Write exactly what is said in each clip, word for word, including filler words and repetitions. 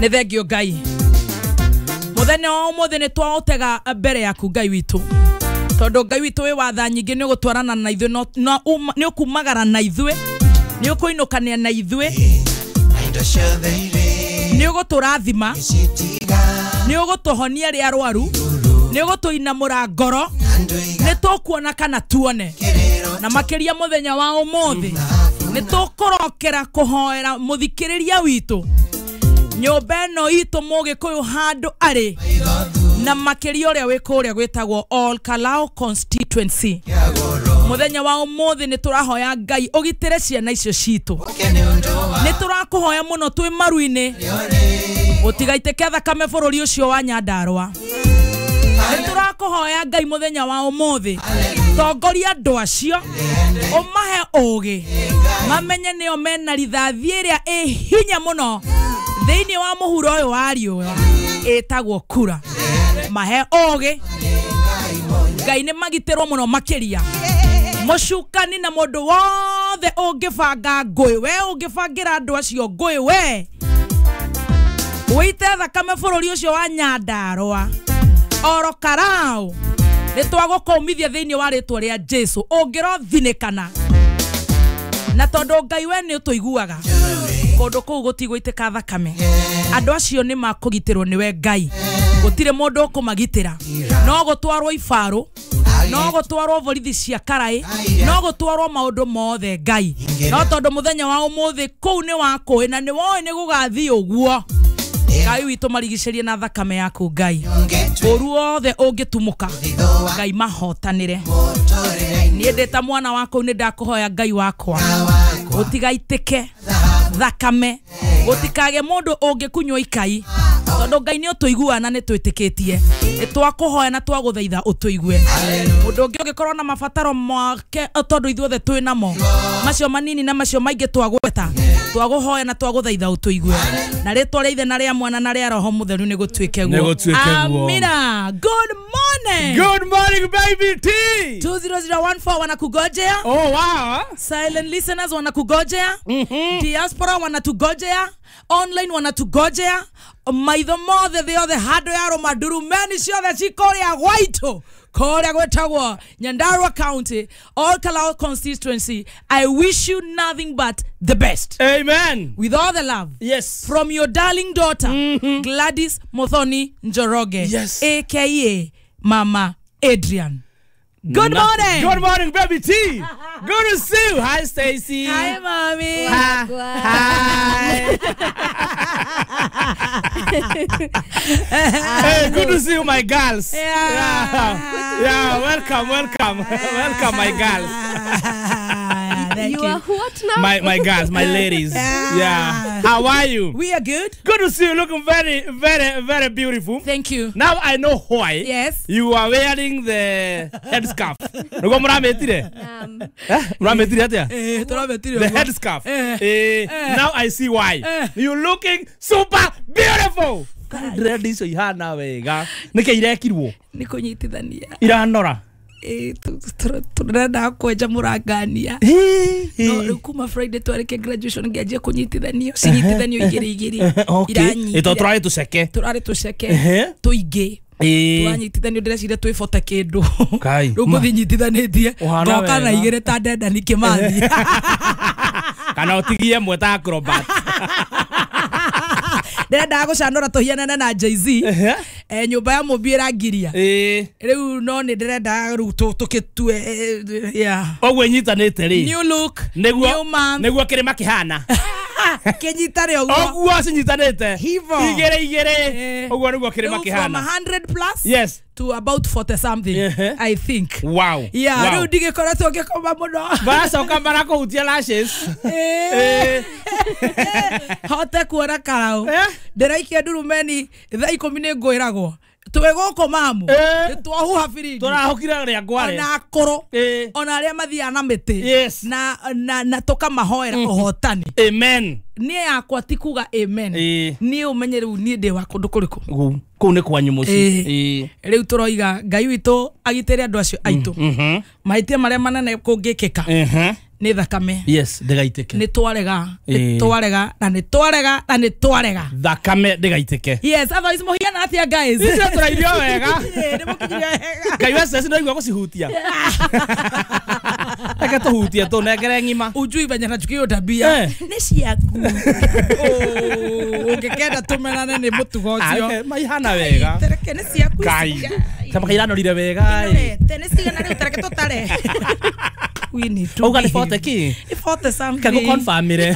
Nĩ thengio Ngai. Mũthenya wa ũmũthĩ nĩ twaũtega mbere yaku Ngai witũ. Tondũ Ngai witũ wĩ watha nyingĩ nĩ ũgũtwarana na ithuĩ, nĩ ũkumagara na ithuĩ, nĩ ũkũinũkania na ithuĩ, nĩ ũgũtũrathima, nĩ ũgũtũhonia arĩa arwaru, nĩ ũgũtũinamũra ngoro, nĩ tũkuona kana tuone. Na makĩria mũthenya wa ũmũthĩ nĩ tũkũrokera kũhoera mũthikĩrĩria witũ nyũmba ĩno itũ mũgĩkũyũ handũ arĩ, na makĩria ũrĩa wĩ kũrĩa gwĩtagwo Ol Kalou constituency. Mũthenya wa ũmũthĩ nĩ tũrahoya Ngai ũgitĩre ciana icio citũ. Nĩ tũrakũhoya mũno twĩ maru-inĩ gũtigaitĩke thakame bũrũri ũcio wa Nyandarũa. Nĩ tũrakũhoya Ngai mũthenya wa ũmũthĩ tongoria andũ acio ũmahe ũgĩ mamenye nĩo mena rithathi ĩrĩa ĩ hinya mũno thĩinĩ wa mũhuro ũyũ wa riũa ĩtagwo kura. Mahe ũgĩ Ngai nĩ magitĩrwo mũno makĩria. Mũcukani na mũndũ wothe ũngĩbanga ngũĩ, we ũngĩbangĩra andũ acio ngũĩ, we wĩite thakame bũrũri ũcio wa Nyandarũa Ol Kalou, nĩ twagũkũmithia thĩinĩ wa rĩtwa rĩa Jesu. Ũngĩrothinĩkana na tondũ Ngai we nĩ ũtũiguaga, kũndũ kũu gũtigũitĩka thakame. Andũ acio nĩ makũgitĩrwo nĩwe Ngai, gũtirĩ mũndũ ũkũmagitĩra. No gũtwarwo ibarũ, no gũtwarwo borithi cia karaĩ, no gũtwarwo maũndũ mothe Ngai. No tondũ mũthenya wa ũmũthĩ kũu nĩ wakũĩ na nĩ woĩ nĩ gũgathiĩ ũguo, Ngai witũ marigicĩrie na thakame yaku Ngai. Ũru wothe ũngĩtumũka Ngai mahotanĩre. Niĩ ndĩ ta mwana waku nĩ ndakũhoya Ngai wakwa gũtigaitĩke thakame, gũtikage mũndũ ũngĩkunywo ikai, tondũ Ngai nĩ ũtũiguaga na nĩ twĩtĩkĩtie. Nĩ twakũhoya na twagũthaitha ũtũigue. Mũndũ ũngĩ ũngĩkorwo na mabataro make, tondũ ithuothe twĩ namo, macio manini na macio maingĩ twagweta, twagũhoya na twagũthaitha ũtũigue. Na rĩtwa rĩa Ithe na rĩa Mwana na rĩa Roho Mũtheru nĩ gũtuĩke guo. Amina. Good morning. Good morning, baby T. two zero zero one four wanakugojea. Oh wow. Silent listeners wanakugojea. Mm-hmm. Diaspora wanatugojea. Online wanatugojea. Maitho mothe thĩ yothe handũ ya rũmandurumeni ciothe cikũrĩa gwaitũ kũrĩa gwĩtagwo Nyandarua County, Ol Kalou constituency. I wish you nothing but the best. Amen. With all the love. Yes. From your darling daughter, mm-hmm. Gladys Muthoni Njoroge, yes. A K A Mama Adrian. Good Nothing. morning. Good morning, baby T. Good to see you. Hi, Stacy. Hi, mommy. Hi. Hi. Hey, good to see you, my girls. Yeah. Yeah. Yeah, welcome, welcome. Welcome, my girls. Thank you. You are what now? My my girls, my ladies. Yeah. Yeah. How are you? We are good. Good to see you. Looking very, very, very beautiful. Thank you. Now I know why. Yes. You are wearing the headscarf. Nugo murametire? Um. Eh? Murametire atia? Eh, turametire. The headscarf. Eh. Eh. Now I see why. Eh. You looking super beautiful. Dread icio ihana wega. Nike irekirwo? Ni kunyitithania. Iranora. Eh, turenda kwenja murangania. No rĩu kuma Friday twarĩkia graduation ngĩanjia kũnyitithanio, cinyitithanio igĩrĩ igĩrĩ. Okay. Ito turarĩ tũceke. Turarĩ tũceke. Tũingĩ. Twanyitithanio ndĩreciria twĩbota kĩndũ. Rĩu ngũthiĩ nyitithanĩtie. Ngoka na igĩrĩ ta Dedan Kĩmathi. Kana ũtigie ĩmwe ta acrobat. Ndĩrendaga gũcanũra tũhianane na Jay-Z. Eh, nyũmba ya mũmbi ĩrangiria. Rĩu no nĩ ndĩrenda rĩu tũkĩtue. Yeah. Ũguo ĩnyitanĩte rĩ. New look. Nĩguo nĩguo kĩrĩma kĩhana. Kĩnyitane ũguo. Ũguo cinyitanĩte. Igĩrĩ igĩrĩ. Ũguo nĩguo kĩrĩma kĩhana. From a hundred plus. Yes. To about forty something. Uh-huh. I think. Wow. Yeah, wow. Rĩu ndigĩkoretwo ngĩkoma mũno. Baracoka marakũhutia lashes. Eh. Hote kuona karau. Ndĩraikia ndurumeni thaa ikũmi nĩ ngwĩragwo. Twĩ gũkũ mamu. Nĩ twahuha biringi. Tũrahũkire rĩa ngware. Ona akũrũ. Ona arĩa mathiaga na mĩtĩ. Yes. Na na na tũkamahoera ũhotani. Amen. Niĩ yakwa ti kuga amen. Ĩĩ. Niĩ ũmenye rĩu niĩ ndĩ wa kũndũ kũrĩkũ. Kũu kũu nĩ kwanyu mũciĩ. Ĩĩ. Rĩu tũroiga Ngai witũ agitĩre andũ acio aitũ. Mhm. Mahĩtia marĩa manene kũngĩkĩka Mhm. nĩ thakame. Yes, ndĩgaitĩke. Nĩ twarega, nĩ Ĩĩ. twarega na nĩ twarega na nĩ twarega. Thakame ndĩgaitĩke. Yes, otherwise mũhiana atĩa guys? Icio tũrairio wega. Ĩĩ, nĩ mũkinyire wega. Ngai wa ceci ndaigua gũcihutia. Reke tũhutie tũnengere ng'ima. Ujui venye nachukia tabia. Eh. Nĩ ciaku. Oh, ũngĩkenda tũmenane nĩ mũtugo ũcio. Ah, maihana wega. Tereke nĩ ciaku. Ngai. ici. Kama kairanũrire wega ĩ. Ĩnorete, nĩ cigana rĩu tereke tũtare. We need to Auga nĩ be. forty kĩ? Nĩ forty something. Kagũ confirmire.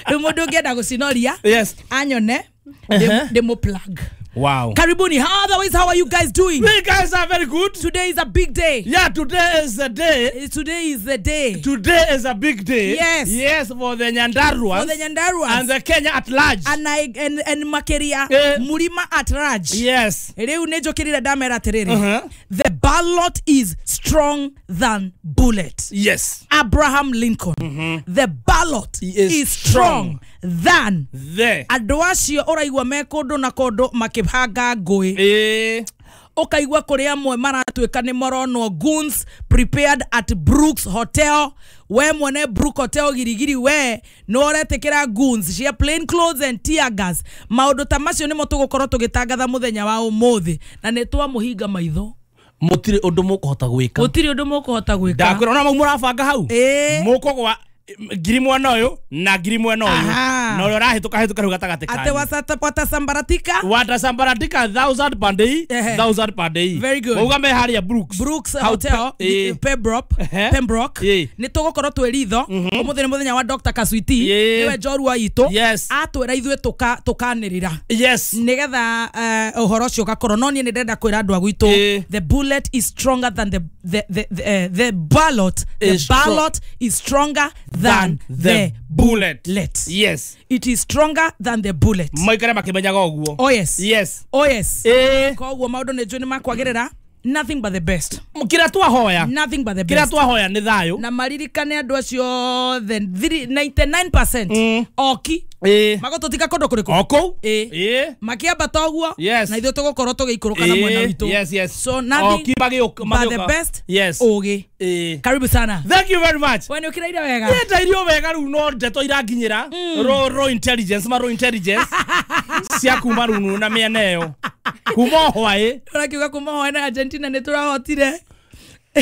Rĩu mũndũ ũngĩenda gũcinoria Yes. anyone Uh-huh. ndĩmũ plug. Wow. Karibuni. How otherwise, how are you guys doing? We guys are very good. Today is a big day. Yeah, today is the day. Eh, Today is the day. Today is a big day. Yes. Yes, for the Nyandaruas. For the Nyandaruas. And the Kenya at large. And I and, and Makeria Eh. Murima at large. Yes. Rĩu nĩ njũkĩrire ndamera atĩrĩrĩ. Uh-huh. The ballot is strong than bullet. Yes. Abraham Lincoln. The ballot Is is strong than The. andũ acio ũraigua me kũndũ na kũndũ makĩhanga ngũĩ. Eh. Ũkaigua kũrĩ amwe maratuĩka nĩ moronwo goons prepared at Brooks Hotel. We mwene Brook Hotel girigiri we nĩ ũretĩkĩra goons cia plain clothes and tear gas. Maũndũ ta macio nĩmo tũgũkorwo tũgĩtangatha mũthenya wa ũmũthĩ na nĩ twamũhinga maitho. Mũtirĩ ũndũ mũkũhota gwĩka. Gũtirĩ ũndũ mũkũhota gwĩka. Ndakwĩra ona mau mũrabanga hau. Ĩĩ. Mũkũgwa ngiri mwena ũyũ na ngiri mwena ũyũ. Aha. Na ũrĩa ũrahĩtũka hĩtũka rĩu gatagatĩ Ate kanyu. wasata watasambaratika. Watasambaratika thousand per day, Ehe. thousand per day. Very good. Mauga me harĩa Brooks. Brooks Hau Hotel pe- ĩĩ. Pembroke Ehe. Pembroke Ĩĩ. nĩ tũgũkorwo twĩ ritho ũmũthĩ nĩ mũthenya wa Dr Kaswiti Ĩĩ. nĩwe njorua itũ Yes. atwĩra ithuĩ tũka tũkanĩrĩra Yes. nĩgetha eh, ũhoro ũcio ũgakorwo no niĩ nĩ ndĩrenda kwĩra andũ a gwitũ Ĩĩ. the bullet is stronger than the the the the, eh, the ballot the Is stro- ballot is stronger than the bullet. bullet. Yes. It is stronger than the bullet. Maikare makĩmenyaga ũguo. Oh yes. Yes. Oh yes. Ĩĩ. Koguo maũndũ nĩ njũĩ nĩ makwagĩrĩra. Nothing but the best. Kĩrĩa twahoya. Nothing but the Kĩrĩa best. twahoya nĩ thayũ. Na maririkane andũ acio othe thiri- ninety-nine percent Mm. oki Ĩĩ. magũtũtiga kũndũ kũrĩkũ O kũu. Ĩĩ. Ĩĩ. Makĩambata ũguo Yes. na ithuĩ tũgũkorwo tũgĩikũrũka na mwena Ĩĩ. witũ. Yes, yes. So nothing Oki magĩũka- but the magĩũka. best. Yes. Ũgĩ. Ĩĩ. Karibu sana. Thank you very much. We nĩ ũkĩraire wega. Nĩ irio wega rĩu no ndeto iranginyĩra ro ro intelligence ma ro intelligence cia kuma runu na mĩena ĩyo kuma o hwaĩ Ũrakiuga kuma hwaĩ na Argentina nĩ tũrahotire.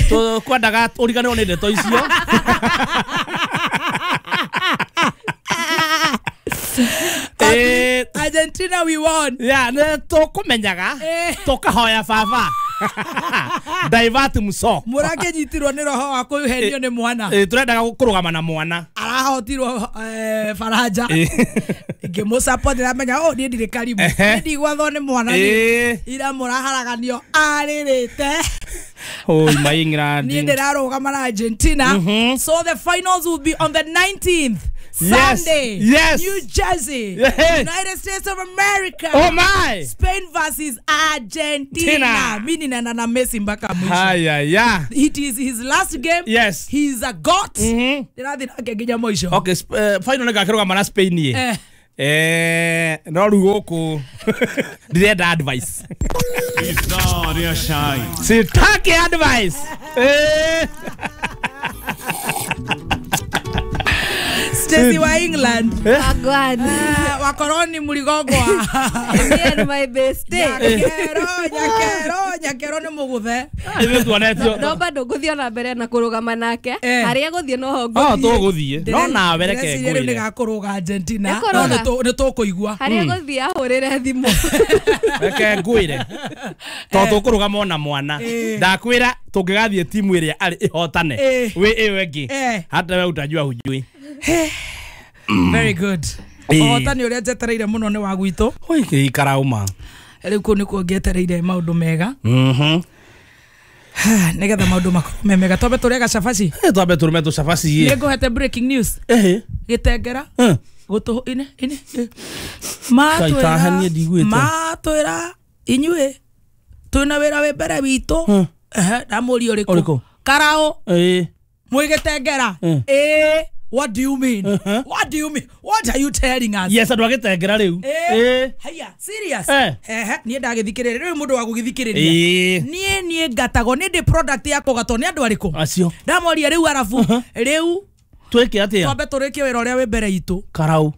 Tũkwendaga ũriganĩrwo nĩ ndeto icio. Eh, Argentina we won. Yeah, nĩ tũkũmenyaga Eh. tũkahoya baba divert muso. Mũrakĩnyitirwo nĩ roho wa kũhenio nĩ mwana. Eh, tũrendaga kũrũgama na mwana. Arahotirwo eh, Faranja. Ngĩmũ-support ndĩramenya oh niĩ ndirĩ karibu. Ehe. Niĩ ndigwathwo nĩ mwana niĩ. Eh. Ira mũraharaganio arĩrĩte. Oi, my England. Niĩ ndĩrarũgama na Argentina. So the finals will be on the nineteenth. Yes. Sunday. Yes. New Jersey. Yes. United States of America. Oh my. Spain versus Argentina. Tina. Mimi ninaenda na Messi mpaka mwisho. Haya ya. It is his last game. Yes. He is a god. Mhm. Ndĩrathiĩ nake nginya mũico. Okay, sp- eh, final nĩngakĩrũgama na Spain ĩ. Eh. Eh, no rĩu gũkũ ndirenda advice. Ithaa shine. Sitaki advice. Eh. Stacy wa England. Wagwan. Ah, wakorwo ni mũrigongwa. Me and my bestie. Nyakero, nyakero, nyakero nĩ mũgũthe. Ithuĩ tuonetio. No bado ngũthiĩ ona mbere na kũrũgama nake. Eh. Harĩa gũthiĩ noho Oh, ngũthiĩ. tũgũthiĩ. No nawe reke Ndĩreciria rĩu ngwĩre. nĩgakũrũga Argentina. Nĩkũrũga. No nĩtũ- nĩtũkũigua. Harĩa gũthiĩ ahũrĩre thimũ. Reke ngwĩre. To tũkũrũgama ona mwana. Eh. Ndakwĩra tũngĩgathiĩ timu ĩrĩa arĩ ĩhotane. Eh. Wĩ ĩyo ĩngĩ. Eh. Hata we utajua hujui. Very good. Eh. Ũhotani ũrĩa njetereire mũno nĩ wa gwitũ. Oi, kĩikarauma. Rĩu kũu nĩkuo ngetereire maũndũ mega. Mhm. Nĩgetha maũndũ makorwo me mega. Twambe tũrĩe gacabaci. Eh, twambe tũrũme tũcabaci. Nĩ ngũhete breaking news. Ehe. Gĩtengera. Eh. Gũtũ ine ine. eh. Matwĩra Kaitahanie ndiguĩte. matwĩra inyuĩ twĩna wĩra wĩ mbere witũ. Hmm. Ehe, ndamũria ũrĩkũ? Ũrĩkũ? Karaũ Eh. mwĩ gĩtengera. Eh. Ĩĩ. What do you mean? What do you mean? What are you telling us? Yes, andå agätengera rä u. Eh, haya, serious. Eh. Ehe, niä ndagäthikä rä ria rä u må ndå wa gå gä thikä rä ria niä niä ngatagwo nä ndä product ya kågatwo nä andå arä kå Acio. Ndamoria rä u arabu rä u Twä ke atä a? Twambe tå rä kie wä ra å rä a wä mbere itå. Karau.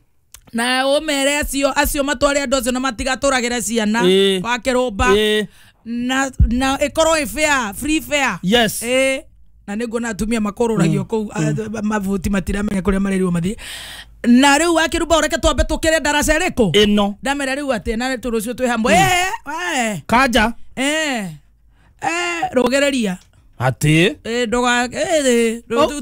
Na å mere acio acio matware andå acio na matigatå ragä re ciana Ĩĩ. wa rå Ĩĩ. na na ĩkorwo ĩ fair, free fair. Yes. Ĩĩ. Na nä nguona atumia makårå kå u mabuti matiramenya kå rä a marerirwo mathiä na rä u wakä reke twambe tå kä re ndaraca ä rä kå Ĩno. Ndamera rä u atä na tå rå cio twä hamwe. Eh, eh, Kanja. eh, eh, rå Atä. Gereria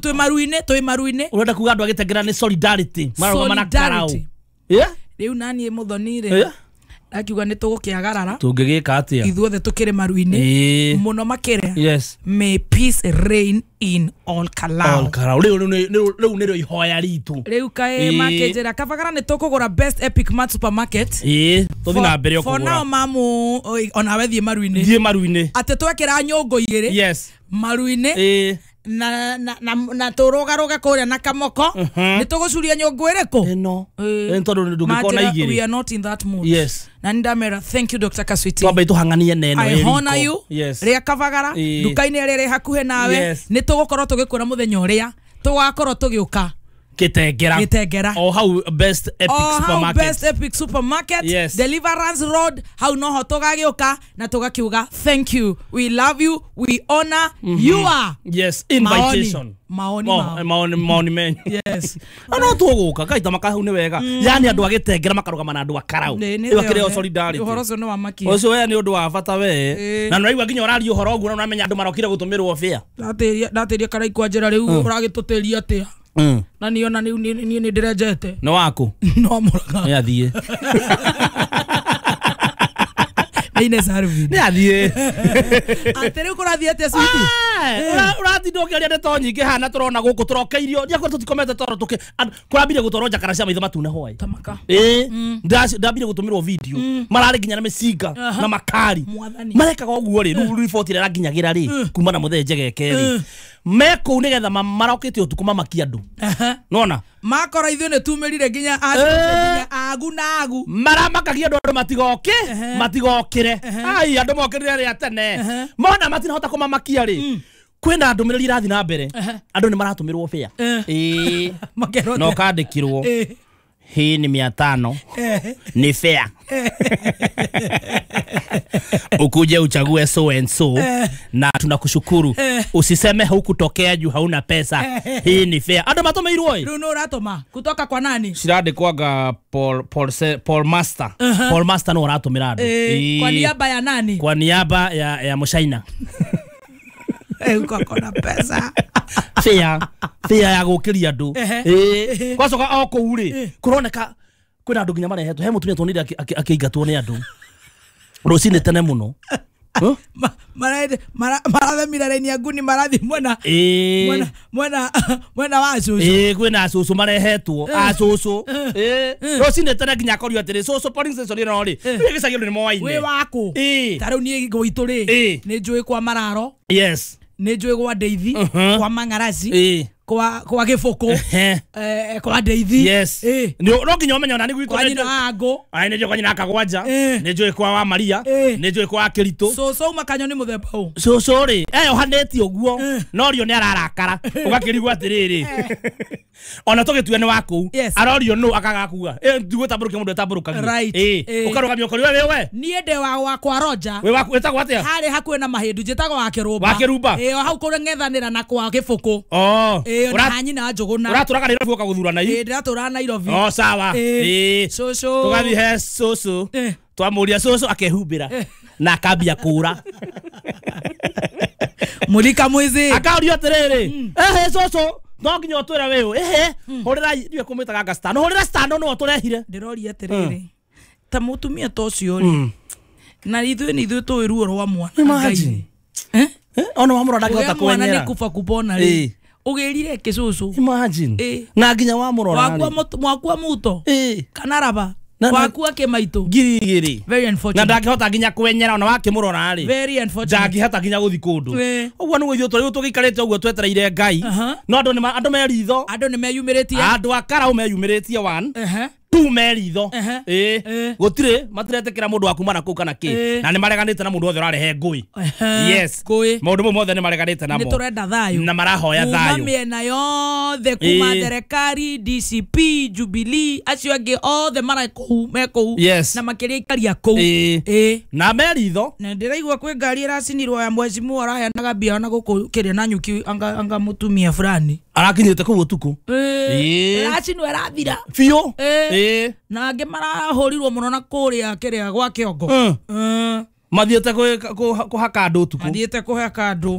twä maru-inä twä maru-inä. Å renda kuga andå agätengera nä solidarity. Mararũgama na karau. Solidarity. Yeah? Rä u naniä må thoni rä Yeah. ndakiuga nä tå gå kä agarara. Tå ngä gä ka atä a? Ithuothe tå kä rä maru-inä Ĩĩ. må no makä rä. Yes. May peace reign in all Kalau. All karau. Rä u nä rä o ihoya ritå. Rä u kaä Ĩĩ. makä njä ra kabagara nä tå kå gå ra Best Epic Mart Supermarket. Ĩĩ. Tå thiä na mbere o For kå now gå mamu oi, onawe thiä maru-inä. Thiä maru-inä. Atä twekä ra nyå ngå igä rä Yes. maru-inä Ĩĩ. na na na na tå rå ga kå rä a na kamoko nä tå gå curia nyå ngå ä rä kå. Ĩno. Ĩ tondå ndå ngä korwo na we igä are not in that mood. Yes. Na nä ndamera thank you Doctor Kaswiti. Twambe tå hang'anie neno. I honor you. Yes. Rä a kabagara Ĩĩ. nduka-inä ä rä a ä hakuhä nawe. Yes. Nä tå gå korwo tå gä kwä ra må thenya å rä a tå gakorwo tå gä å ka. Gĩtengera. Gĩtengera. O hau Best Epic O hau Supermarket. Best Epic Supermarket. Yes. Deliverance Road hau noho tũgagĩũka na tũgakiuga thank you, we love you, we honor you are. Yes, invitation. Maoni, Oh, maoni. maoni maoni menyu. Yes. No no tũgũka kaita makahau nĩ wega. Yani andũ agĩtengera makarũgama na andũ a karau. Nĩ- nĩ Ĩyo akĩrĩ o thĩ solidarity. ũhoro ũcio nĩ wa makia. Ũcio we nĩ ũndũ wa bata we. Ĩĩ. Na nĩũraigua nginya ũraria ũhoro ũguo na ũramenya andũ marokire gũtũmĩrwo bĩa. Ndatĩria ndatĩria karaikwa njĩra rĩu ũragĩtũtĩria atĩa na niĩ ona niĩ niĩ nĩ ndĩrenjete. Nĩ waku. No mũraga. Nĩ athiĩ. Nĩ Ines Arvin. Nĩ athiĩ. Atĩ rĩu kũrathiĩ atĩa switi? Ũratinda ũkĩaria ndeto nyingĩ haha na tũrona gũkũ tũrokeirio ndiakorwo tũtikomete toro tũkĩ kũrambire gũtwarwo njakara cia maitho matune hwaĩ. Tamaka. Ĩĩ, ndambire gũtũmĩrwo video mararĩ nginya na mĩcinga na makari. Mwathani. Marekaga ũguo rĩ, rĩu riboti ĩrĩa ĩranginyagĩra rĩ kuma na mũthee njegeke rĩ me kũu nĩgetha marokĩte ũtukũ mamakie andũ. Nona Makora ithuĩ nĩ tumĩrire nginya nginya agu na agu. Maramakagia andũ andũ matigoke matigokĩre. Ai andũ mokĩrire rĩa tene mona matinahota kũmamakia rĩ kwĩna ndũmĩrĩri irathiĩ na mbere andũ nĩ maratũmĩrwo bĩa. Ĩĩ. Makerwo Na ũkandĩkirwo hii ni mia tano ni fair. Ukuje uchague so and so na tunakushukuru. Usiseme hukutokea juu hauna pesa. Hii ni fair. Andũ matũmĩirwo ĩ. Rĩu nũ ũratũma kutoka kwa nani? Cirandĩkwanga Paul Paul Paul Master. Paul Master no ũratũmĩra andũ. Kwa niaba ya nani? Kwa niaba ya ya Mũcaina. Uko na pesa. Fair. Fair ya gũkĩria andũ. Ĩĩ. Gwacoka o kũu rĩ kũroneka kwĩna andũ nginya marehetwo he mũtumia tuonire akĩingatwo nĩ andũ rũcinĩ tene mũno. Marathemire raini ya nguni marathi mwena mwena mwena mwena wa cũcũ. Ĩĩ kwĩna cũcũ marehetwo a cũcũ. Ĩĩ rũcinĩ tene nginya akorio atĩrĩ cũcũ polling station ĩno rĩ gĩcagi andũ nĩ moaine. Wĩ waku. Ta rĩu niĩ gwitũ rĩ nĩ njũĩ kwa Mararo. Yes. Nĩ njũĩ gwa Ndeithi kwa Mang'araci kwa kwa Gĩbũkũ eh kwa Ndeithi. Yes. No nginya ũmenye ona nĩ gwitũ kwa nyina wa Ngũ. Ai nĩ njũĩ kwa nyina Kagwanja. Nĩ njũĩ kwa wa Maria. Nĩ njũĩ kwa Kĩritũ. Cũcũ uma kanyo nĩ mũthemba ũ? Cũcũ rĩ eyohanĩtie ũguo no rio nĩ ararakara ũgakĩrigwo atĩrĩrĩ ona tũgĩtue nĩ wa kũu arorio nũ akaga kuga ndigũtambũrũkia mũndũ etambũrũkagia. Ĩĩ ũkarũgamia ũkorio we we niĩ ndĩ wa wakwa Roger. Wĩ waku wĩtagwo atĩa? Harĩ hakuhĩ na mahĩndu njĩtagwo wa Kĩrũmba. Wa Kĩrũmba. Ĩĩ o hau kũng'ethanĩra na kwa Gĩbũkũ. Ĩĩ na nyina Njũgũna. Ũratũraga Nairobi ũka gũthurana i? Ĩĩ ndĩratũraga Nairobi. O sawa. Ĩĩ cũcũ tũgathiĩ he cũcũ twamũria cũcũ akehumbĩra na akambia kũra. Mũrika mwizi. Akaũrio atĩrĩrĩ ehe cũcũ no nginya ũtwĩre wĩ ũ ehe hũrĩra ndiũĩ kũmwĩtaga nga stano hũrĩra stano nĩwe ũtũrehire. Ndĩroria atĩrĩrĩ ta mũtumia ta ũcio rĩ na ithuĩ nĩ ithuĩ tũĩ ruo rwa mwana. Imagine. Eh? Ona wamũrora ndangĩhota mwana kwenyera. nĩ kuba kupona rĩ ũgĩrire kĩcũcũ. Imagine. Na nginya wamũrora rĩ wakua muto kana raba. Waku akĩmaitũ ngiri igĩrĩ. Very unfortunate. Na ndangĩhota nginya kwenyera ona wakĩmũrora rĩ. Very unfortunate. Ndangĩhota nginya gũthi kũndũ. Ũguo nĩguo ithuĩ tũrĩ tũgĩikarĩte ũguo twetereire Ngai. No andũ nĩ andũ me ritho. Andũ nĩ meyumĩrĩtie. Andũ a Karau meyumĩrĩtie one. Tu meritho eh gutire matiretekera mundu wa kuma na kuu kana ki na ni mareganite na mundu othe urarehe ngui. Yes, maundu mothe ni mareganite namo, ni turenda thayo na marahoya thayo kuma miena yothe, kuma thirikari, D C P, Jubilee, acio angi othe mara kuu me kuu na makiria ikaria kuu eh na meritho. Na ndiraigua kwi ngari iracinirwo ya mheshimiwa araheanaga mbia ona guku kiria na nyuki anga anga mutumia fulani arakinyite kuu utuku eh iracinwo irathira biũ eh na angĩ marahũrirwo mũno na kũrĩa kĩrĩa gwa kĩongo mathiĩte kũhaka andũ ũtukũ, mathiĩte kũhaka andũ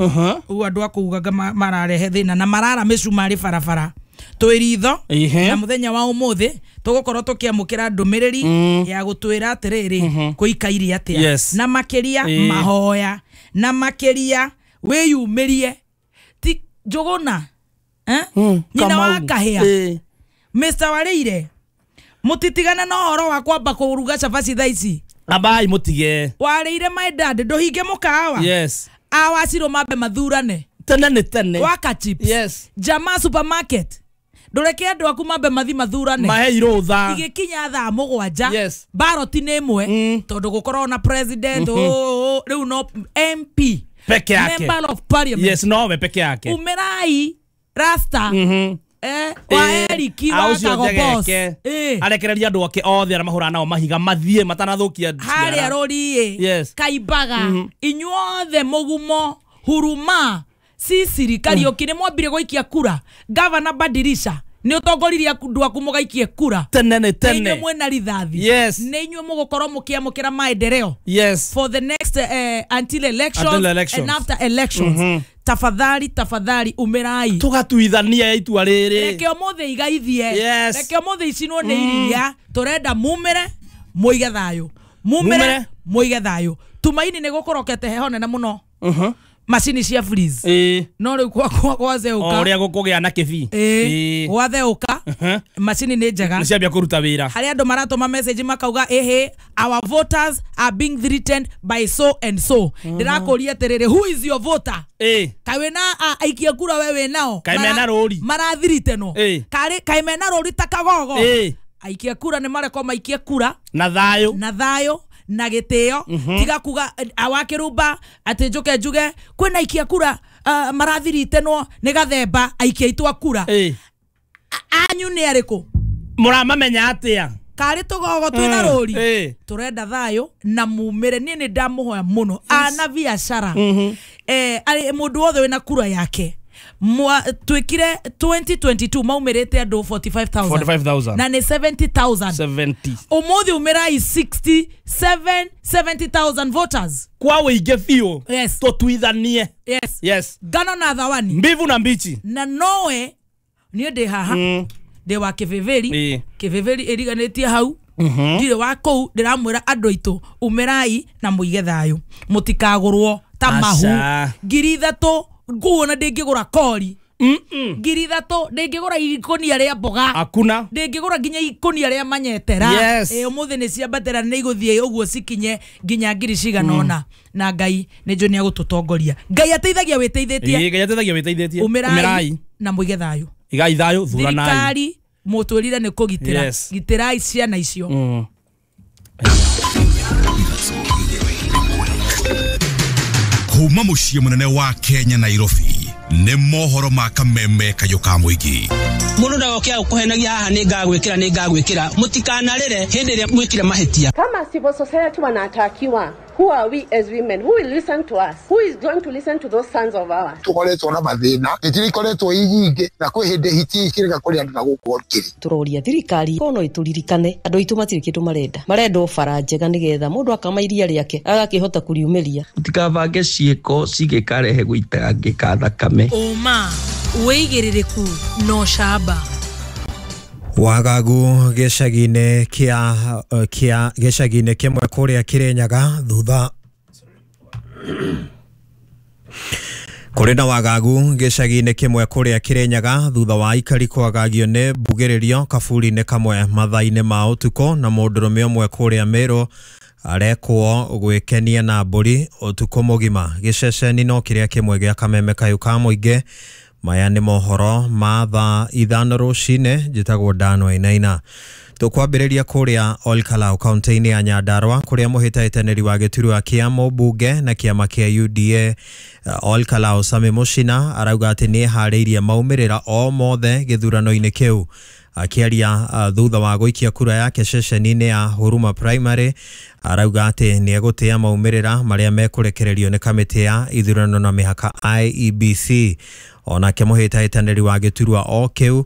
ũguo andũ a kũu anga mararehe thĩna na marara mĩcumarĩ barabara twĩ ritho. Na mũthenya wa ũmũthĩ tũgũkorwo tũkĩamũkĩra ndũmĩrĩri ya gũtwĩra atĩrĩrĩ kũikaire atĩa, na makĩria mahoya, na makĩria wĩyumĩrie ti Njũgũna nyina wa Kahĩa Mister Warĩire mutitigana na horo wa kwamba kuruga cabaci thaa ici ambai mutige warĩire my dad nduhinge mukawa. Yes, awacirwo mambe mathurane tene nĩ tene waka chips. Yes, Jamaa supermarket ndureke andu aku mambe mathi mathurane maheirwo thaa igikinya thaa mũgwanja. Yes, baroti nĩ ĩmwe tondu gukorwo na president o riu no M P peke yake, member of parliament. Yes, no we peke yake umerai rasta eh wa Eriki wa Kago boss eh arekereria andu ake othe aria mahura nao mahiga mathie matanathukia haria rori. Yes, kaimbaga inyuothe mugumo huruma Sisiri Kariuki ni mwambire guikia kura. Governor Badirisha ni utongoririe andu aku mugaikie kura tene ni tene inyuĩ mwena rithathi. Yes, ni inyuĩ mugukorwo mukiamukira maendeleo. Yes, for the next uh, until elections, until elections and after elections. Mm -hmm. Tafadhali tafadhali umerai tugatuithania itua riri reke umuthi igaithie. Yes. Reke umuthi icinwo ni iria turenda mumire muige thayo, mumire muige thayo. Tumaini ni gukorokete heho nene muno macini cia freeze eh no riu kwa gwatheuka o uria gukugia na kibi eh gwatheuka macini ni njega ni ciambia kuruta wira haria andu maratuma message makauga ehe our voters are being threatened by so and so. Ndirakuria atiriri who is your voter eh kai wina aikia kura we we nao kai mena ruri marathiritenwo kai kai mena ruri ta kagogo eh aikia kura ni mareko maikie kura na thayo na thayo na gitio. Tiga kuga awakirumba ati njuke njuge kwina aikia kura uh, marathiritenwo ni gathemba aikia itwa kura eh anyu ni ariku muramamenya atia kari tugogo twina ruri eh turenda thayo na mumire ni ni ndamuhoya muno ana biashara eh ari mundu wothe wina kura yake twikire twenty twenty-two maumirite andu forty-five thousand na ni seventy thousand seventy umuthi umirai sixty-seven seventy thousand voters kwa wige biũ. Yes, tutuithanie. Yes, yes, ngano na thawani mbivu na mbichi na nowe nie ndi haha ndi wa kiviviri kiviviri iriganitie hau ndire wa kuu ndiramwira andu aitu umirai na muige thayo mutikagurwo ta mahu ngiri ithatu nguo na ndingigura kori ngiri ithatu ndingigura ikonia ria mboga hakuna ndingigura nginya ikonia ria manyetera. Yes. Eh umuthi ni ciambatĩra ni iguthie uguo cikinye nginya ngiri cigana ona na Ngai ni njũ ni agututongoria. Ngai ateithagia witeithitie. Ii Ngai ateithagia witeithitie. Umirai na muige thayo igai thayo thuranai thirikari mutwirire ni kugitira. Yes. Gitirai ciana icio. Mm. Kuma muciĩ munene wa Kenya Nairobi nĩ mohoro ma kameme kayũ ka mũingĩ. Mũndũ ndagoke gũkũhenagia haha nĩ ngagwĩkĩra nĩ ngagwĩkĩra mũtikanarĩre hĩndĩ ĩrĩa mwĩkire mahĩtia. Kama civil society wanatakiwa, who are we as women? Who will listen to us? Who is going to listen to those sons of ours? Tukoretwo na mathĩna ĩtirikoretwo ĩ nyingĩ na kwĩ hĩndĩ hiti ikĩrega kũrĩ andũ na gũkũ kĩrĩ. Tũroria thirikari kono ĩtũririkane andũ aitũ matirĩ kĩndũ marenda marenda o bara njega nĩgetha mũndũ akama iria rĩake agakĩhota kũriumĩria. Mũtikabange ciĩko cigĩkarehe gũitangĩka thakame. Ũma wĩigĩrĩrĩku no camba. Wagagu gĩcagi-inĩ kĩa kĩa gĩcagi-inĩ kĩmwe kũrĩa Kirinyaga thutha Kũrĩ na wagagu gĩcagi-inĩ kĩmwe kũrĩa Kĩrĩnyaga thutha wa aikari kwagagio nĩ mbugĩrĩrio kaburi-inĩ kamwe mathaa-inĩ ma ũtukũ na mũndũrũme ũmwe kũrĩa Meru arekwo gwĩkenia na mbũri ũtukũ mũgima. Gĩceceni no kĩrĩa kĩmwe gĩa kameme kayũ ka mũingĩ. Maya nĩ mohoro ma thaa ithano rũcinĩ. Njĩtagwo Dan Wainaina. Tũkwambĩrĩria kũrĩa Olkalau kaunti-inĩ ya Nyandarua kũrĩa mũhĩtahĩtanĩri wa gĩturwa kĩa mũmbunge na kĩama kĩa U D A Olkalau Sami Mushina arauga atĩ nĩeharĩirie maumĩrĩra o mothe gĩthurano-inĩ kĩu. Akĩaria thutha wa gũikia kura yake ceceni-inĩ ya Huruma Primary arauga atĩ nĩegũtĩa maumĩrĩra marĩa mekũrekererio nĩ kamĩtĩ ya ithurano na mĩhaka I E B C. Onake mũhĩtahĩtanĩri wa gĩturwa o kĩu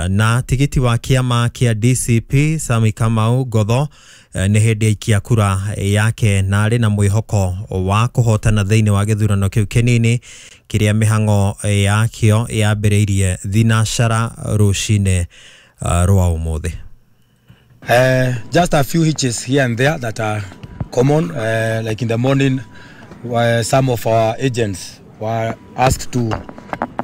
na tigiti wa kĩama kĩa D C P Sami Kamau Ngotho nĩ hĩndĩ aikia kura yake na arĩ na mwĩhoko wa kũhotana thĩinĩ wa gĩthurano kĩu kĩnini kĩrĩa mĩhang'o yakĩo yambĩrĩirie thinacara rũcinĩ rwa ũmũthĩ. Uh, just a few hitches here and there that are common, uh, like in the morning uh, some of our agents were asked to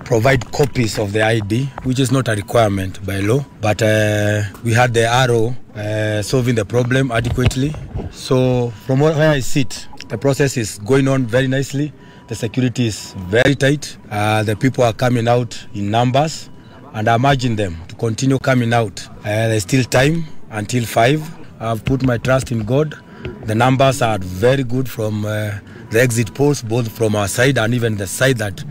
provide copies of the I D, which is not a requirement by law, but uh, we had the R O uh, solving the problem adequately. So from where I sit, the process is going on very nicely. The security is very tight. Uh, the people are coming out in numbers, and I'm urging them to continue coming out. Uh, there's still time until five. I've put my trust in God. The numbers are very good from uh, the exit polls, both from our side and even the side that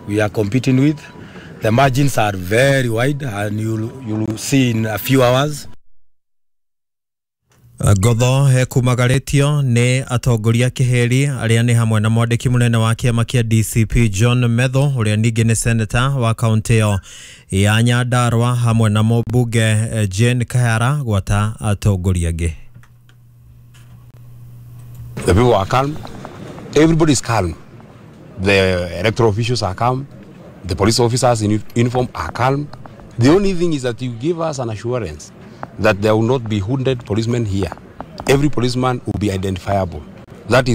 we are competing with. The margins are very wide, and you'll, you'll see in a few hours. Ngotho ekumagarĩtio nĩ atongoria kĩheri arĩa nĩ hamwe na mwandĩki mũnene wa kĩama kĩa D C P John Metho ũrĩa ningĩ nĩ seneta wa kaunti ĩyo ya Nyandarua hamwe na mũmbunge Jane Kahara gwata atongoria angĩ. The people are calm. Everybody is calm. The electoral officials are calm. The police officers in uniform are calm. The only thing is that you give us an assurance that there will not be wounded policemen here. Every policeman will be identifiable. That is